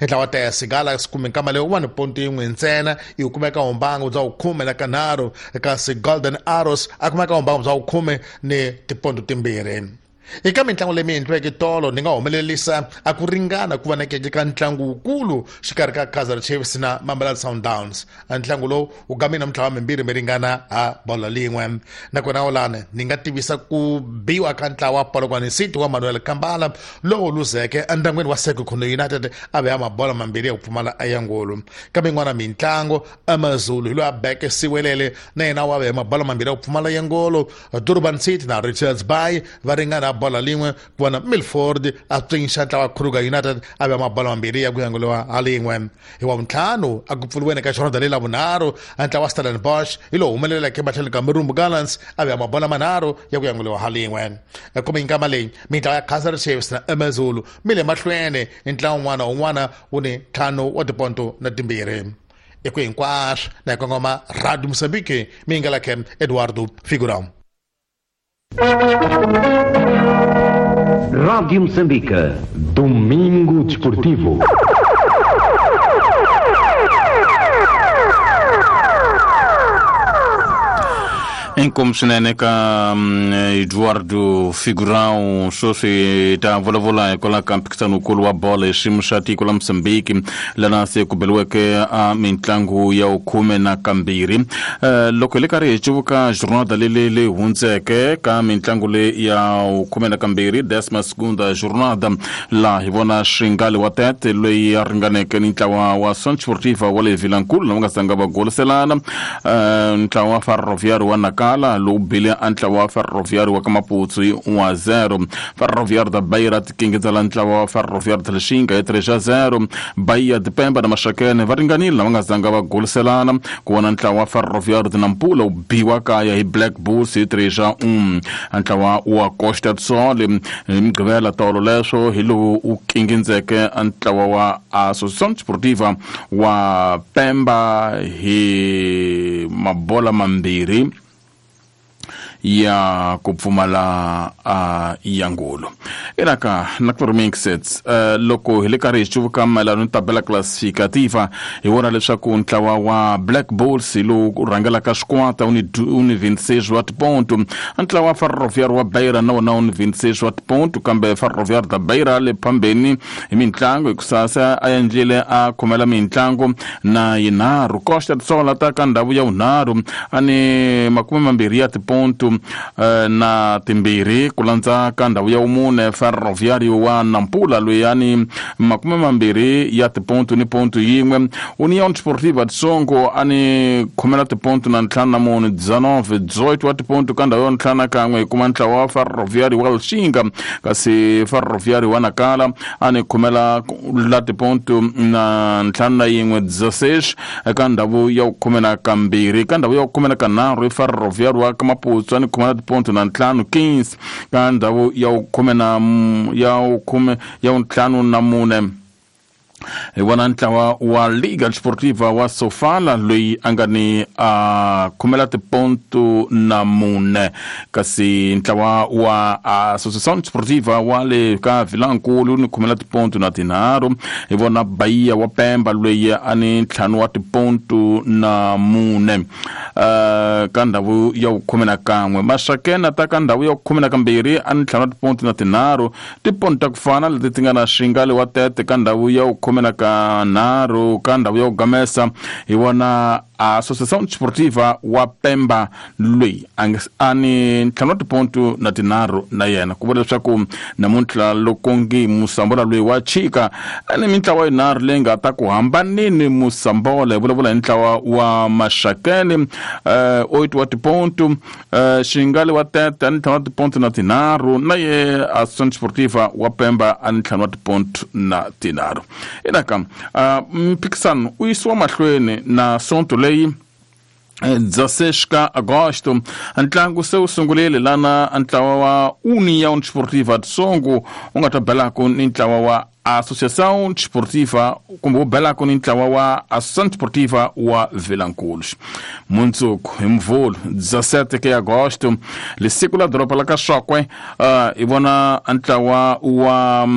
Ntlawa wa TS Galaxy kumbe nkama leyi wa ni ponto yin'we ntsena yi kumeka humbangu bya vukhume na kanharhu, kasi Golden Arrows a kumeka humbangu bya vukhume ni tiponto timbirhi. Eka mitlangu leyi mi endliweke tolo, ni nga humelerisa a ku ringana ku vonakeke ka ntlangu wukulu xikarhi ka Kaizer Chiefs na Mamelodi Sundowns. Ntlangu lowu wu game namuntlha wa mimbirhi mi ringana ha bolo lin'we. Nakona olani ni nga tivisa ku biwa ka ntlawa wa Polokwane City wa Manuel Kambala lowu luzeke endyangwini wa Sekhukhune United a veya mabolo mambirhi ya ku pfumala ya ngolo. Kambe yin'wana mitlangu, AmaZulu hi loyi a beke Siwelele na yena wa veya mabolo mambirhi ya ku pfumala ya ngolo. Durban City na Richards Bay va ringana bola lin'we, ku vona Milford a tswinxa ntlawa wa Kruger United a veya mabolo mambirhi ya ku yanguliwa ha lin'we. Hi wa vuntlhanu a ku pfuriweni ka xirhonda leyi lavunharhu, ntlawa wa Stellenbosch hi lowu humeleleke emahlweni ka Marumo Gallants a veya mabolo manharhu ya ku yanguliwa ha lin'we. Kumbe nkama leyi mintlawa ya Kaizer Chiefs na AmaZulu mi le mahlweni, ntlawa wun'wana wun'wana wu ni ntlhanu wa tiponto na timbirhi. I ku hinkwaswo na hi kongoma Radio Mozambique, mi nga lakhe Eduardo Figurão. Rádio Moçambique. Domingo Desportivo. Inkomu swinene ka Eduardo Figurão. Sweswi ta vulavula hikwalaho ka mphikizanokulu wa bolo hi xiyimo xa tiko la Mozambique, lana se ku beliweke a mitlangu ya vukhume na kambirhi. Loko hi le karhi hi cuvuka jornada leyi leyi hundzeke ka mitlangu leyi ya vukhume na kambirhi, décima segunda jornada, laha hi vona Xingali wa Tete loyi a ringaneke ni ntlawa wa Son Sportiva wa le Vilankulu lava nga zanga va goliselana. Ntlawa wa Ferroviário wa Nakala lowu bile a ntlawa wa Ferroviário wa ka Maputsu hi 1-0. Ferroviário da Beira tikingidzela ntlawa wa Ferroviário da Lixinga hi 3-0. Bahia de Pemba na Maxakene va ringanile lava nga zanga va goliselana, ku vona ntlawa wa Ferroviário de Nampula wu biwa kaya hi Black Bulls hi 3-1. Ntlawa wa Costa do Sol hi Mugqivela tolo leswo hi lowu wu kingindzeke ntlawa wa Associação Desportiva wa Pemba hi mabola mambirhi ya ku pfumala ya ngolo. Inaka na ku remixets. Loko hi le karhi hi cuvuka mayelana ni tabela classificativa, hi vona leswaku ntlawa wa Black Bulls hi lowu rhangelaka swikwata wu ni 26 wa tiponto. Ntlawa wa Ferroviário wa Beira na wona wu ni 26 wa tiponto, kambe Ferroviário da Beira le phambeni hi mitlangu hikusa se a endlile a khomela mitlangu na yinharhu. Costa do Sol ta ka ndhawu ya vunharhu a ni 20 ya tiponto na timbirhi, ku landza ka ndhawu ya vumune Ferroviário wa Nampula loyi a ni 20 ya tiponto ni ponto yin'we. União Desportiva de Songo a ni khomela tiponto na ntlhanu na mune, 19 18 wa tiponto. Ka ndhawu ya ntlhanu na kan'we hi kuma ntlawa wa Ferroviário wa Lixinga, kasi Ferroviário wa Nakala a ni khomela la tiponto na ntlhanu na yin'we, 16, eka ndhawu ya vukhume na kambirhi. Ka ndhawu ya vukhume na kanharhu i Ferroviário wa Kamaputsu a ni khomela tiponto na ntlhanu, 15. Ka ndhawu ya vukhume na ya vukhume ya vuntlhanu na mune hi vona ntlawa wa Liga Desportiva wa Sofala loyi a nga ni a khomela tiponto na mune, kasi ntlawa wa Associação Desportiva wa le ka Vilankulu ni khomela tiponto na tinharhu. Hi vona Bahia wa Pemba loyi a ni ntlhanu wa tiponto na mune ka ndhawu ya vukhume na kan'we. Maxakena ta ka ndhawu ya vukhume na kambirhi a ni ntlhanu wa tiponto na tinharhu, tiponto ta ku fana leti ti nga na Xingali wa Tete ka ndhawu ya vukhume na kanharhu. Ka ndhawu ya ku gamesa hi vona Associação Desportiva wa Pemba loyi a ni ntlhanu wa tiponto na tinharhu na yena. Ku vula leswaku namuntlha loko ngi Musambola loyi wa chika ni mintlawa yinharhu leyi nga ta ku hambanini Musambola. Hi vulavula hi ntlawa wa Maxakeni 8 wa tiponto, Xingali wa Tete a ni ntlhanu wa tiponto na tinharhu, na ye Associação Desportiva wa Pemba a ni ntlhanu wa tiponto na tinharhu. Inaka mphikisano u yisiwa mahlweni na sonto leyi 16 ka agosto. Ntlangu se wu sungurile lana ntlawa wa União Desportiva de Songo wu nga ta belako ni ntlawa wa Associação Desportiva, kumbe wu belako ni ntlawa wa Associação Desportiva wa Vilankulu. Mundzuku hi Mvhulu 17 ke agosto, lisiku la doroba la ka Xokwe, hi vona ntlawa wa